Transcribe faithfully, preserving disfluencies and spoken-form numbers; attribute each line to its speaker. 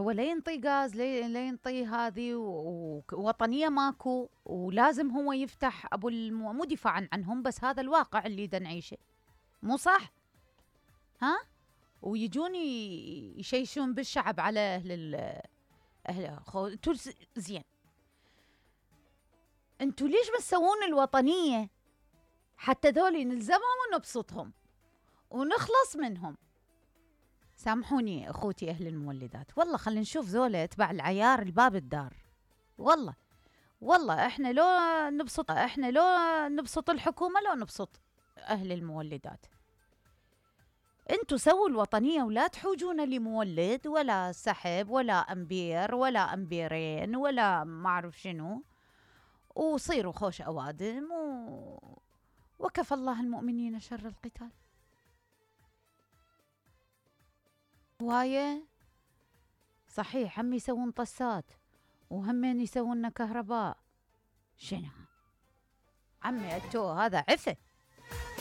Speaker 1: هو لا ينطي غاز لا ينطي هذه ووطنيه ماكو، ولازم هو يفتح ابو المو... مو دفاعا عنهم، بس هذا الواقع اللي دا نعيشه، مو صح؟ ها؟ ويجون يشيشون بالشعب على اهل ال اهل خو... انتوا زين، انتوا ليش ما تسوون الوطنيه حتى ذولي نلزمهم ونبسطهم ونخلص منهم؟ سامحوني اخوتي اهل المولدات، والله خلينا نشوف ذولا تبع العيار الباب الدار، والله والله احنا لو نبسط احنا لو نبسط الحكومه لو نبسط اهل المولدات. انتوا سووا الوطنيه ولا تحوجون لمولد ولا سحب ولا امبير ولا امبيرين ولا ما اعرف شنو، وصيروا خوش اوادم و... وكفى الله المؤمنين شر القتال. هواية صحيح هم يسوون طسات وهمين يسوون كهرباء، شنو عمي التو هذا عفة.